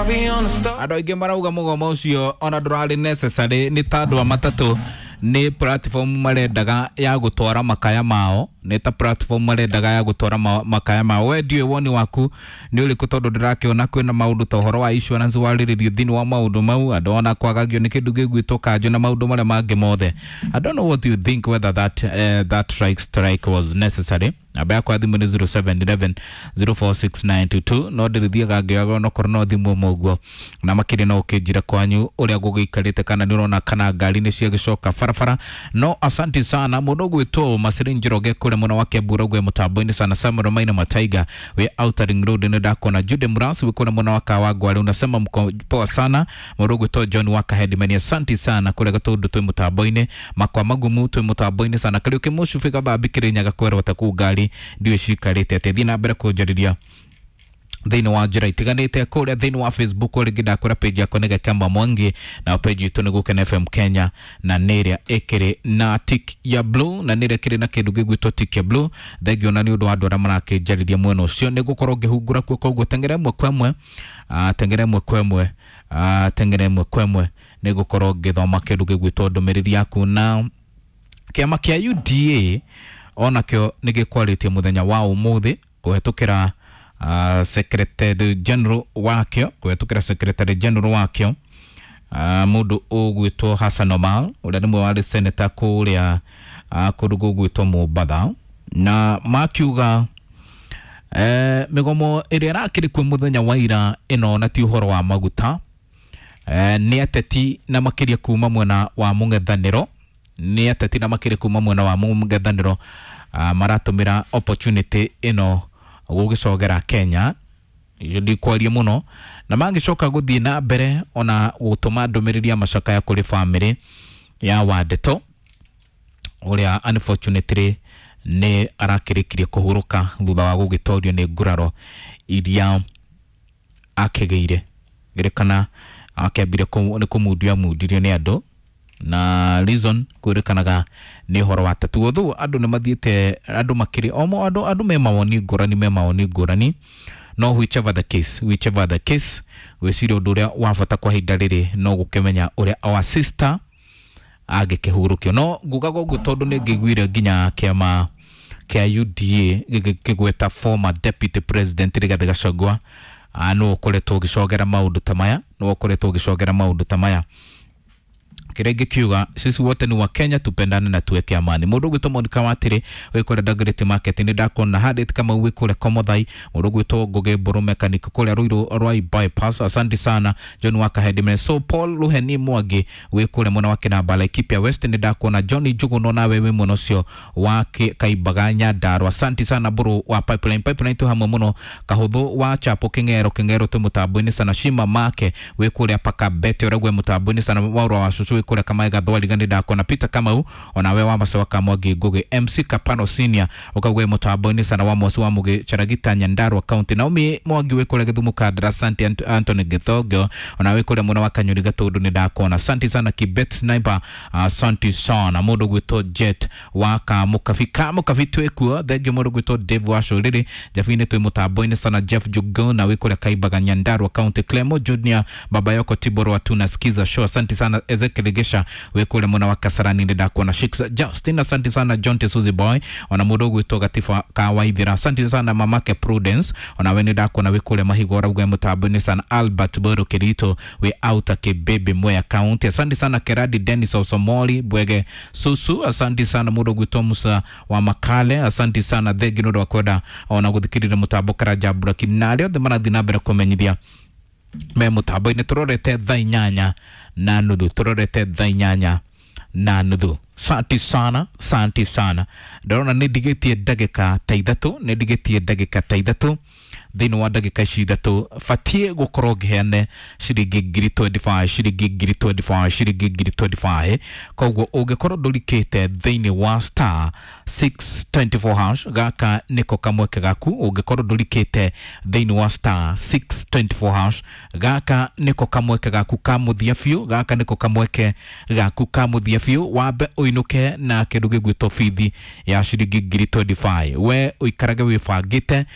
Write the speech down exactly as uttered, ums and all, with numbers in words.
Andũ aingĩ marauga mũgomo ũcio ona ndũrarĩ necessary, nĩ ta andũ a matatũ nĩ platform marendaga ya gũtwara makaya mao, nĩ ta platform marendaga ya gũtwara ma, makaya mao. We ndiũĩ woni waku nĩ ũrĩkũ, tondũ ndĩrakĩona kwĩna maũndũ ta ũhoro wa insurance warĩrĩrio thĩinĩ wa maũndũ mau, andũ ona kwagagio nĩ kĩndũ gĩgwĩtwo kanjũ na maũndũ marĩa mangĩ mothe. I don't know what you think, whether that, uh, that strike, strike was necessary. Namba yakwa ya thimũ nĩ zero seven one one zero four six nine two two, no ndĩrĩthiaga ngĩoyaga onokorwo no thimũ ĩmwe ũguo, na makĩria no ũkĩnjĩra kwanyu ũrĩa gũgĩikarĩte, kana nĩ ũrona kana ngari nĩ ciagĩcoka barabara. No asanti sana mũndũ ũgwĩtwo Maciri Njoroge kũrĩa mwena wa Kiambu, ũraugua mũtambo-inĩ sana. Samuel Maina Mataiga wĩ Outer Ring Road, nĩ ndakona. Jude Murasi wĩ kũrĩa mwena wa Kawangware, unasema mko poa sana. Mũndũ ũgwĩtwo John wa Kahedimeni, asanti sana kũrĩa Gatũndũ twĩ mũtambo-inĩ. Makwa Magumu twĩ mũtambo-inĩ sana. Kariũki Mũcubi Gathambi Kĩrĩnyaga kwerwo ta kũu ngari ndiũĩ cikarĩte atĩa. Thiĩ na mbere kũnjarĩria thĩinĩ wa njĩra itiganĩte kũrĩa thĩinĩ wa Facebook. Rĩngĩ ndakwĩra page yakwa nĩ Gakamba Mwangi, na page itũ nĩ Gũkena F M Kenya, na nĩ ĩrĩa ĩkĩrĩ na tick ya blue, na nĩ ĩrĩa ĩkĩrĩ na kĩndũ gĩgwĩtwo tick ya blue. Thengio na nĩ ũndũ wa andũ arĩa marakĩnjarĩria mwena ũcio, nĩ gũkorwo ngĩhungura kuo, koguo teng'era ĩmwe kwa ĩmwe, ah, teng'era ĩmwe kwa ĩmwe, ah, teng'era ĩmwe kwa ĩmwe, nĩ gũkorwo ngĩthoma kĩndũ gĩgwĩtwo ndũmĩrĩri yaku. Na kĩama kĩa U D A onakĩo nĩ gĩkwarĩtie mũthenya wa ũmũthĩ kũhetũkĩra uh, secretary general wakĩo, kũhetũkĩra secretary general wakĩo, uh, mũndũ ũgwĩtwo Hassan Omar, ũrĩa nĩ mwe warĩ senator kũrĩa uh, kũndũ gũgwĩtwo Mombatha, na makiuga eh, mĩgomo ĩrĩa ĩrakĩrĩ kuo mũthenya wa ira ĩno na ti ũhoro wa maguta, eh, nĩ ateti na makĩria kuma mwena wa mũng'ethanĩro, nĩ ateti na makĩria kuma mwena wa mũng'ethanĩro uh, maratũmĩra opportunity ĩno gũgĩcogera Kenya. Icio ndikwaria mũno, na mangĩcoka gũthiĩ na mbere ona gũtũma ndũmĩrĩri ya macakaya kũrĩ bamĩrĩ ya Wandeto, ũrĩa unfortunately nĩ arakĩrĩkirie kũhurũka thutha wa gũgĩtorio nĩ nguraro iria akĩgĩire. Gĩrĩkana akĩambire nĩ kũmundio amundirio nĩ andũ, na reason kwĩrĩkanaga nĩ ũhoro wa tatu. Although andũ nĩ mathiĩte, andũ makĩrĩ omo, andũ andũ me mawoni ngũrani, me mawoni ngũrani, no whichever the case whichever the case gwĩciria ũndũ ũrĩa wa bata kwa ihinda rĩrĩ no gũkĩmenya ũrĩa our sister angĩkĩhurũkio. No ngugaga ũguo tondũ nĩ ngĩiguire nginya kĩama kĩa U D A gĩkĩgweta former deputy president Rigathĩ Gachagua nĩwe ũkoretwo ũgĩcogera maũndũ ta maya, nĩwe ũkoretwo ũgĩcogera maũndũ ta maya. Kĩrĩa ingĩkiuga, sisi wote ni wa Kenya, tupendane na tuweke amani. Mũndũ ũgwĩtwo Monica Watĩrĩ wĩ kũrĩa Dagoretti Market, nĩ ndakona. Harriet Kamau wĩ kũrĩa Komothai. Mũndũ ũgwĩtwo Ngũgĩ Mbũrũ mechanic kũrĩa Ruiru Rwai bypass, asante sana. John Wakahedime, so Paul Luheni Mwangi wĩ kũrĩa mwena wa Kĩnamba, Laikipia West, nĩ ndakona. John Njuguno nawe wĩ mwena ũcio wa Kaimbaga Nyandarua, asante sana. Mbũrũ wa Pipeline, Pipeline twĩ hamwe mũno. Kahũthũ wa Chapo Kĩng'ero, Kĩng'ero twĩ mũtambo-inĩ sana. Shima Make wĩ kũrĩa Pakabete, ũrĩa mũtambo-inĩ sana. Waũrwa wa Cucu wĩ kũrĩa Kamaĩ Gathwariga, nĩ ndakona. Peter Kamau onawe wa Macewa Kamwangi Ngugi. M C Kapano Senior ũkaugwe mũtambo-inĩ sana, wa Mosi wa Mũgĩ Charagita Nyandarua County. Naomi Mwangi wĩ kũrĩa Gĩthumo Kandara, asante. Ant Anthony Gĩthongio onawe kũrĩa mwena wa Kanyuri Gatũndũ, nĩ ndakona, asante sana. Kibet Sniper, asante sana. Mũndũ gwĩtwo Jet wa Kamũkabi, Kamũkabi twĩkuo, thengio. Mũndũ gwĩtwo Dave wa Cũrĩrĩ Jabinĩ twĩ mũtambo-inĩ sana. Jeff Jugona wĩ kũrĩa Kaimbaga Nyandarua County. Clemo Junior Baba Yoko Tiboro wa tunasikiza show, asante sana. Ezekiel Gesha wĩ kũrĩa mwena wa Kasarani, nĩ ndakuona. Shix Justin, asante sana. John Tesuzi Boy ona mũndũ ũgwĩtwo Gatiba Kawaithira, asante sana. Mamake Prudence ona we nĩ ndakuona wĩ kũrĩa Mahigo, ũrauga mũtambo-inĩ sana. Albert Boro Kirito wĩ Outer Kibebe Mwea County, asante sana. Keradi Dennis Osomoli Bwege Susu, asante sana. Mũndũ ũgwĩtwo Musa wa Makale, asante sana. Thengi nĩ ũndũ wa kwenda ona gũthikĩrĩria mũtambo. Karanja Buraki na arĩa othe marathiĩ na mbere kũmenyithia me mũtambo-inĩ. Tũrorete thaa inyanya na nuthu, tũrorete thaa inyanya na nuthu. Santi sana, santi sana. Ndĩrona nĩ ndigĩtie ndagĩka ta ithatũ, nĩ ndigĩtie ndagĩka ta ithatũ. Thĩinĩ wa ndagĩka ici ithatũ batiĩ gũkorwo ngĩheane ciringi ngiri mĩrongo ĩrĩ na ithano, ciringi ngiri mĩrongo ĩrĩ na ithano, ciringi ngiri mĩrongo ĩrĩ na ithano. Koguo ũngĩkorwo ndũrikĩte thĩinĩ wa star six two four hash, gaka nĩko kamweke gaku. Ũngĩkorwo ndũrikĩte thĩinĩ wa star six two four hash, gaka nĩko kamweke gaku ka mũthia biũ, gaka nĩko kamweke gaku ka mũthia biũ. Wambe ũinũke na kĩndũ gĩgwĩtwo bithi ya ciringi ngiri mĩrongo ĩrĩ na ithano, we ũikarage wĩbangĩte.